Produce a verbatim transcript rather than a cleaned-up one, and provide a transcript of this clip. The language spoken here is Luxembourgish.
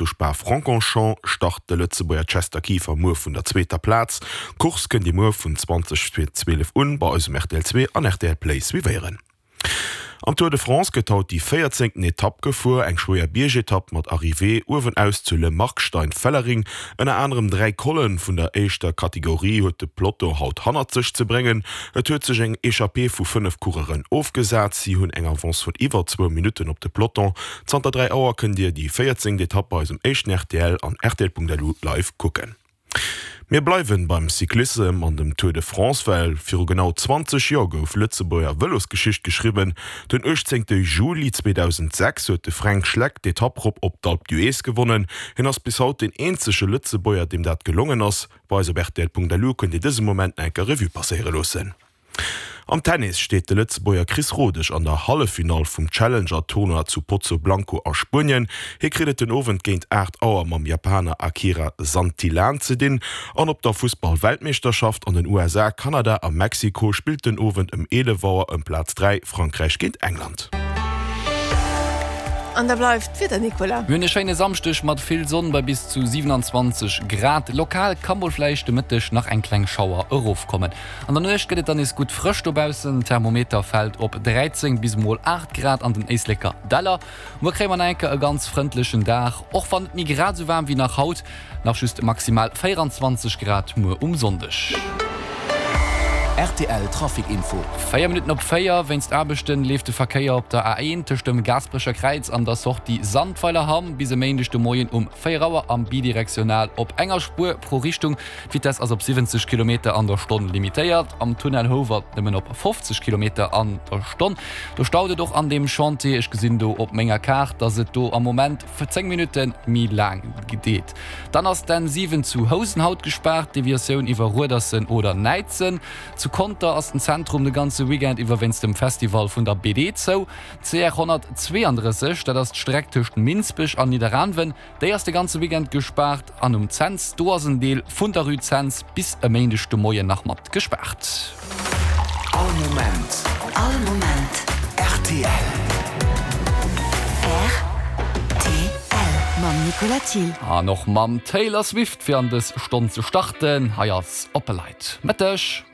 Zu Spa-Francorchamps start de Lëtzebuerger Chester Kieffer muer vun der zweeter Plaz. D'Course kënnt Dir muer vun zwanzeg vir zwielef un bei eis um R T L zwee an R T L Play suivéieren. Am Tour de France gëtt haut déi véierzéngten Etapp gefuer, eng schwéier Biergetapp mat Arrivée uewenaus zu Le Markstein-Fellering. Ënner anerem dräi Collen vun der éischter Kategorie huet de Peloton haut hannert sech ze bréngen. Et huet sech eng Echappée vu fënnef Coureuren ofgesat, si hunn eng Avance vun iwwer zwou Minutten op de Peloton. Zanter dräi Auer kënnt Dir déi véierzéngt Etapp bei eis um éischten R T L an R T L Punkt L U live kucken. Mir bleiwen beim Cyclissem an dem Tour de France, well viru genau zwanzeg Joer gouf Lëtzebuerger Vëlosgeschicht geschriwwen. Den uechtzéngte Juli zweedausendsechs huet de Fränk Schleck d'Etapp rop op d'Alpe d'Huez gewonnen. Hien ass bis haut deen eenzege Lëtzebuerger, deem dat gelongen ass. Bei eis op R T L Punkt L U kënnt Dir dëse Moment nach eng Kéier Revue passéiere loossen. Am Tennis steet de Lëtzebuerger Chris Rodesch an der Halleffinall vum Challenger-Tournoi zu Pozoblanco a Spuenien. Hie kritt et den Owend géint aacht Auer mam Japaner Akira Santillan ze dinn. An op der Fussball-Weltmeeschterschaft an den U S A, Kanada a Mexiko spillt den Owend ëm eelef Auer ëm Plaz dräi Frankräich géint England. An da bleift d'Wieder, Nicolas. Mir hunn e schéine Samschdeg mat vill Sonn bei bis zu siewenanzwanzeg Grad. Lokal ka mol vläicht de Mëtteg nach eng kleng Schauer erofkommen. An der Nuecht gëtt et dann nees gutt frësch dobaussen, Thermometer fält op dräizéng bis mol aacht Grad an den Éisleker Däller. Muer kréie mer nach eng Kéier e ganz frëndlechen Dag, och wann net méi grad esou waarm wéi nach haut, nach just maximal véieranzwanzeg Grad muer um Sonndeg. R T L Trafic Info. Véier Minutten op véier, Wéinst Aarbechten leeft de Verkéier op der A eent tëscht dem Gaasperecher Kräiz an der Sortie Sandweilerhamm bis e Méindeg de Moien um véier Auer am bidirektional op enger Spuer pro Richtung. D'Vitess ass op siwwenzeg Kilometer an der Stonn limitéiert, am Tunnel Houwald nëmmen op fofzeg Kilometer an der Stonn. Do staut et och an deem Chantier. Ech gesinn do op menger Kaart, dass et do am Moment zéng Minutte méi laang geet. Dann ass d'N siwen zu Housen haut gespaart, Deviatioun iwwer Ruedersen oder Näidsen. Zu Conter ass den Zentrum de ganze Weekend iwwer wéinst dem Festival vun der B D zou. C R honnertzweeandrësseg, dat ass d'Streck tëscht Minsbech an Nidderaanwen, déi ass de ganze Weekend gespaart. An um Cents, do ass en Deel vun der Rue Cents bis e Méindeg de Moien nach mat gespaart. All Moment. All Moment. R T L. R T L mam Nicolas Thiel. An och mam Taylor Swift fir an dës Stonn ze starten. Hei ass Opalite. Mëtteg.